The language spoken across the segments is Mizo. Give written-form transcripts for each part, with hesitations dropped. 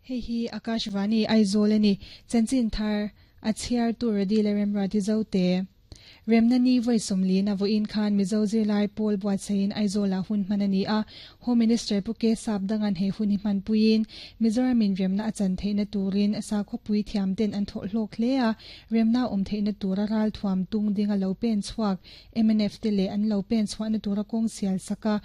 Hei hi Akashvani Aizawl a ni. Chanchin thar a chhiartu Radila Remruati Zote. Remna ni vawi 40 na vawiin khan Mizo zirlai pawl buatsaihin Aizawlah hun hman a ni a. Home Minister Pu Ke Sap Dangan he hun hi hmanpuiin Mizoramin remna a chan theihna turin sakhawpui thiamten an thawh hlawk hle a. Remna awm theihna tura ralthuam tung dinga lo pen chhuak mnf te leh an lo pen chhuahna tura kawng sial saka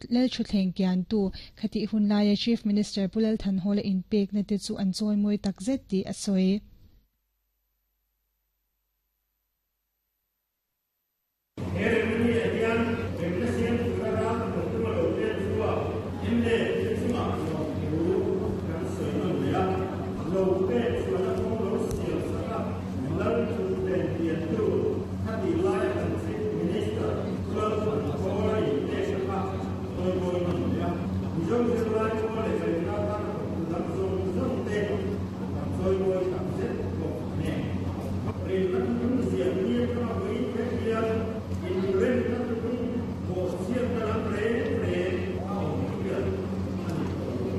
lal thutthleng kiantu khatih hun laia Chief Minister Pu Lal Thanhawla inpekna te chu an chawimawi takzet tih a sawi. He remna ni-ah hian remna siam tura ral thawk tuma lo pen chhuak mla te chungah lawmthu kan sawi nawn leh a, lo pen chhuahna kawng lo siam sak a, lal thutthleng piantu khatih laia kan Chief Minister Lalthankhawla inpekna kha chawimawi nawn leh a, Mizo zirlai pawl leh remna atana thawktu dang zawng zawng te kan chawimawi tak zet bawk a ni. Remna thuthlung ziah ni atanga vawiin thleng hian inremna thuthlung bawhchhiatna lam reng reng a awm hian a ni tawh lo.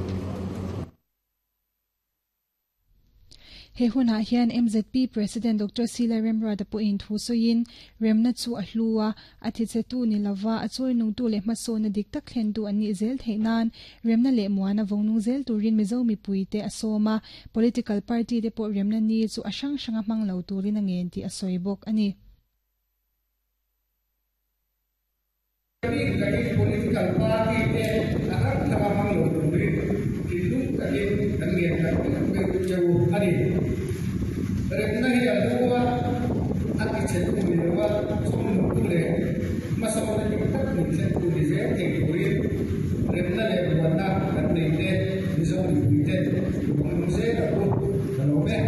He hunah hian MZP President Doctor Sila Remruata pawhin thu sawiin, Remna chu a hlu a, a thichhetu ni lova a chawinungtu leh hmasawnna dik tak thlentu an nih zel theih nan remna leh muana vawngnung zel turin Mizo mipuite a sawm a, political party te pawh remna ni chu a hrang hranga hmang lo turin a ngen tih a sawi bawk a ni. Bik takin political party te a hrang hranga hmang lo turin thinlung takin kan ngen tak tak mai che u a ni. Remna hi a hlu a, a tichhetu ni lova chhungnungtu leh hmasawnna dik tak min thlentu ni zel thei turin remna leh buanna kan nei te Mizo mipuiten i vawng zel ang u. Ka lawm e.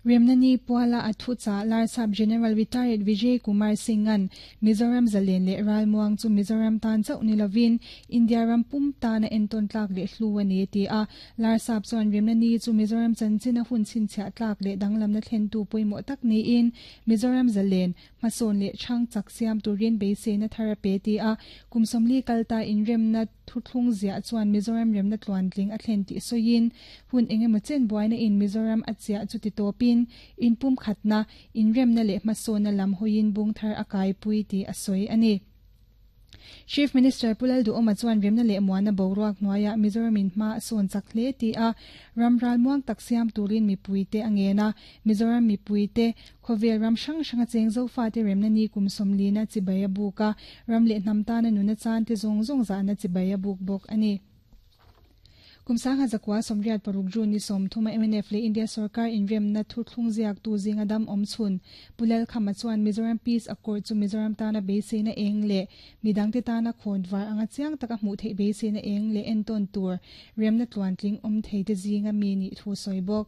Remna ni puala a thuchah Larsap General Retired Vijay Kumar Singh-a'n Mizoram zalen leh ralmuang chu Mizoram tan chauh ni lovin India ram pum tana entawn tlak leh hlu a ni a ti a. Larsap chuan Remna ni chu Mizoram chanchina hun chhinchhiah tlak leh danglamna thlentu pawimawh tak niin Mizoram zalen hmasawn leh chhang chak siam turin beiseina thar a pe ti a. Kum 40 kal ta inremna Thuthlung ziah chuan Mizoram remna tluantling a thlen tih sawiin, hun engemaw chen buaina in Mizoram a chiah chu ti tawpin, inpumkhatna, inremna leh hmasawnna lam hawiin bung thar a kaipui tih a sawi a ni. Chief Minister Pu Lalduhawma chuan remna leh muana boruak hnuaiah Mizoramin hma a sawn chak hle tih a, ram ralmuang tak siam turin mipuite a ngen a, Mizoram mipuite Khawvel ram hrang hranga cheng Zofate remna ni kum 40 na chibai a buk a, ram leh hnam tana nuna chante zawng zawng zahna chibai a buk bawk a ni. Kum 1986 June ni 30 a mnf leh India sorkar inremna thuthlung ziaktu zinga dam awm chhun Pu Lalkhama chuan Mizoram Peace Accord chu Mizoram tana beiseina eng leh midangte tana khawn var anga chiang taka hmuh theih beiseina eng leh entawn tur remna tluantling awm theite zinga mi nih thu sawi bawk.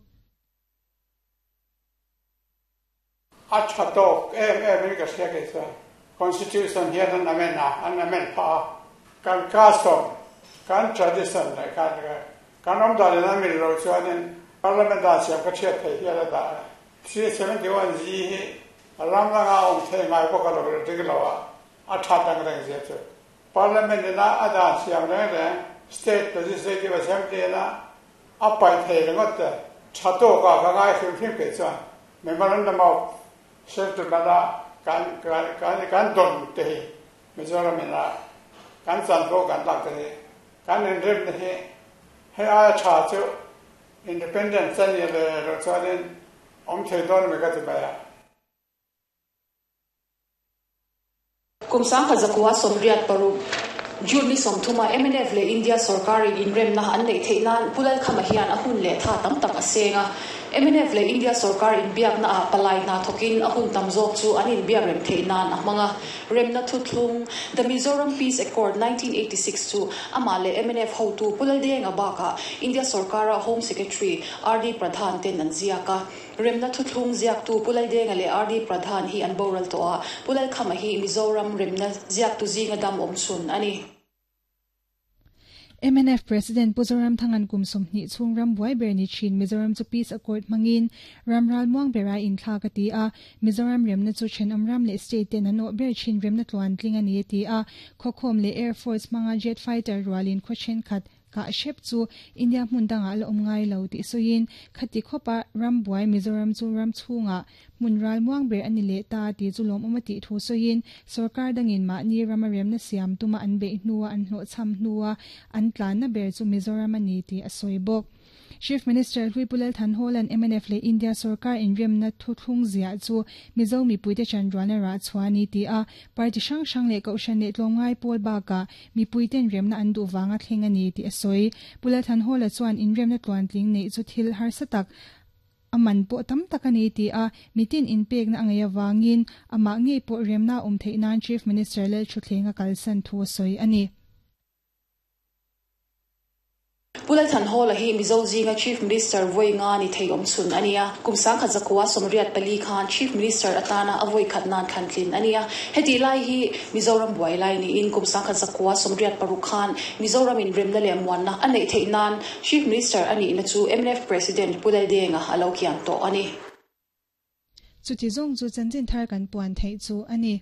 A tha tawk em em in ka hria kei chuan Constitution hian an amend a, an amend phah a, kan custom, kan tradition leh kan kan awm dan in a mil loh chuanin Parliament dan siam ka thiat thei hial a dah a. 371 G hi ram langa awm thei ngai bawk a lo dik lo a, a that ang reng zia chu Parliament ina a dan siam reng reng State Legislative Assembly ina A paih thei ringawt te tha tawk a ka ngai hrim hrim kei chuan Memorandum of Settlement a kan kan dawn te hi Mizoram in a kan chanvo kan lak te hi kan inremna hi hei aia tha chu Independence a nih leh loh chuanin awm thei dawn ami ka ti mai a. Kum 1986 June ni 30 a mnf leh India sorkarin inremna an neih theih nan Pu Lalkhama hian a hun leh tha tam tak a seng a. Mnf leh India sorkar inbiakna ah palai hna thawkin a hun tam zawk chu an inbiak rem theih nan a hmang a. Remna thuthlung, The Mizoram Peace Accord 1986 chu amah leh mnf hotu Pu Laldenga bakah India sorkara Home Secretary RD Pradhan ten an ziak a. Remna thuthlung ziaktu Pu Laldenga leh RD Pradhan hi an boral tawh a, Pu Lalkhama hi Mizoram remna ziaktu zinga dam awm chhun a ni. Mnf President Pu Zoramthanga'n kum 20 chhung ram buai ber ni thin Mizoram chu Peace Accord hmangin ram ralmuang bera inthlak a ti a, Mizoram remna chu thenawm ram leh state ten an awh ber thin remna tluantling a ni a ti a, khawkhawm leh Air Force hmanga jet fighter rualin khaw thenkhat kah hrep chu India hmun dangah la awm ngai lo tih sawiin khati khawpa ram buai Mizoram chu ram chhungah Hmun ralmuang ber a ni leh ta tih chu lawmawm a tih thu sawiin, sorkar dangin mahni rama remna siam tuma an beih hnua an hlawhchham hnua an tlanna ber chu Mizoram a ni tih a sawi bawk. Chief Minister Hlui Pu Lal Thanhawla'n mnf leh India sorkar inremna thuthlung ziah chu Mizo mipuite chanrualna rah chhuah a ni ti a, party hrang hrang leh kohhran leh tlawmngai pawl bakah mipuiten remna an duh vanga thleng a ni tih a sawi. Pu Lal Thanhawla chuan inremna tluantling neih chu thil harsa tak A man pawh tam tak a ni ti a, mitin inpekna a ngaih avangin amah ngei pawh remna a awm theih nan Chief Minister Lalthuthleng a kalsan thu a sawi a ni. Pu Lalthanhawla hi Mizo zinga Chief Minister vawi nga ni thei awm chhun a ni a, kum 1984 khan Chief Minister atana a vawi khat nan thlan tlin a ni a. Hetih lai hi Mizoram buai lai niin kum 1986 khan Mizoram in remna leh muanna a neih theih nan Chief Minister a nihna chu mnf President Pu Laldenga a lo kian tawh a ni. Chuti zawng chu chanchin thar kan puan theih chu a ni.